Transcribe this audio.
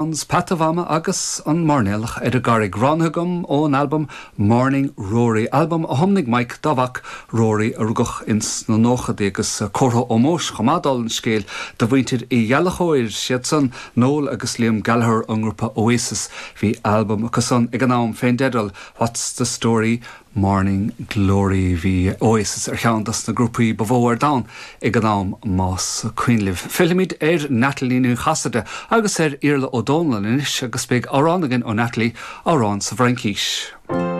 Peata Mhama agus An Mairnéalach ar an gCarraig, roghnaithe agam ón albam Morning Rory, albam a thiomnaigh Mike dá mhac Rory a rugadh ins na nóchadaí, agus comhartha ómóis chomh maith dála an scéil do mhuintir Uí Ghallchóir, siad san Noel agus Liam Gallagher ón ngrúpa Oasis. Bhí albam acu san ag an am fén dteideal What's the Story Morning Glory. Bhí Oasis ar cheann dos na grúpaí ba mhó ar domhan ag an am, más cuimhin libh. Fillfimid ar Natalie Ní Chasaide agus ar Iarla Ó Dónalláin anois agus beidh amhrán againn ó Natalie, amhrán sa bhFraincís.